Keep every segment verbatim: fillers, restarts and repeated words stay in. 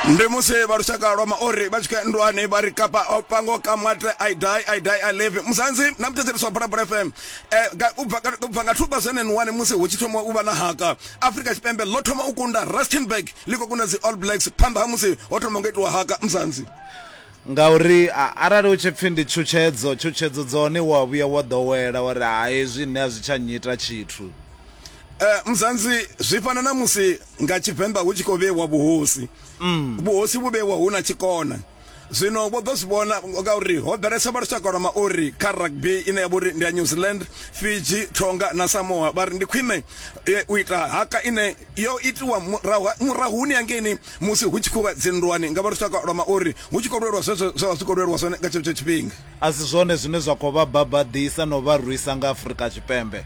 Ndi musi vha lushaka lwa Maori vha tshi khou ya nndwani, vha ri kapa o pango kamate, I die, I die, I live. Muzanzi na muthetshelesi wa Phalaphala F M, eh, ga- u bva u bva nga two thousand and one musi hu tshi thoma u vha na haka, Afrika Tshipembe ḽo thoma u kunda Rustenburg, ḽi khou kunda dzi All Blacks phanḓa ha musi ho thoma nga itiwa haka, Muzanzi. Ngauri a- arali hu tshi pfhi ndi tshutshedzo, tshutshedzo dzone wa vhuya wa ḓowela wa ri ha hezwi nṋe a zwi tsha nnyita tshithu. Eh, Muzanzi, zwi fana na musi nga Tshivenḓa hu tshi khou vheiwa vhuhosi, vhuhosi vhu vheiwa hu na tshikona. Zwino vho ḓo zwi vhona ngauri ho ḓalesa vha lushaka lwa Maori kha rugby ine ya vha uri ndi ya New Zealand, Fiji, Tonga na Samoa. Vha ri ndi khwine eh, u ita haka ine yo itiwa murahu murahuni hangeini musi hu tshi khou vha dzinndwani nga vha lushaka lwa Maori, hu tshi khou lwelwa zwezwo zwe vha zwi khou lwelwa zwone nga tshetsho tshifhinga. A si zwone zwine zwa khou vha babaḓisa no vha rwisa nga Afrika Tshipembe?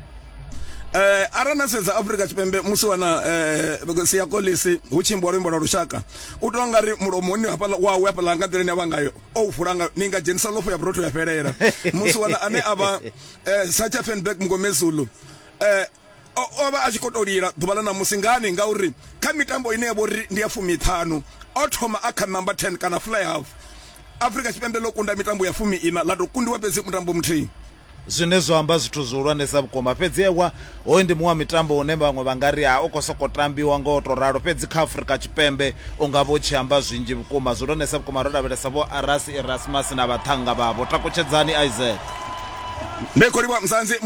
Eh, arali na sedza Afrika Tshipembe, musi wana eh Siya Kolisi hu tshi imbiwa luimbo lwa lushaka, u tou nga ri mulomoni hafhaḽa wawe hafhaḽa nga nḓila ine avha ngayo o vula nga ni nga dzhenisa ḽofo ya vhurotho ya fhelela. Musi wana ane avha eh, Sacha Feinberg Mngomezulu, eh o o vha a tshi khou tou lila ḓuvha ḽa ṋamusi. Ngani? Ngauri kha mitambo ine ya vha uri ndi ya fumiṱhanu o thoma a kha number ten kana fly half, Afrika Tshipembe ḽo kunda mitambo ya fumi ina, ḽa tou kundiwa fhedzi mutambo muthihi. Zwine zwa amba zwithu zwihulwanesa vhukuma. Fhedzi ewa, hoyu ndi muṅwe wa mitambo une vhaṅwe vha nga ri ha u khou sokou tambiwa ngo to ralo, fhedzi kha Afrika Tshipembe u nga vha u tshi amba zwinzhi vhukuma, zwihulwanesa vhukuma, ro lavhelesa vho Rassie Erasmus na vhaṱhannga vhavho. Takutshedzani, Isaac. Ndi khou livha, Muzanzi.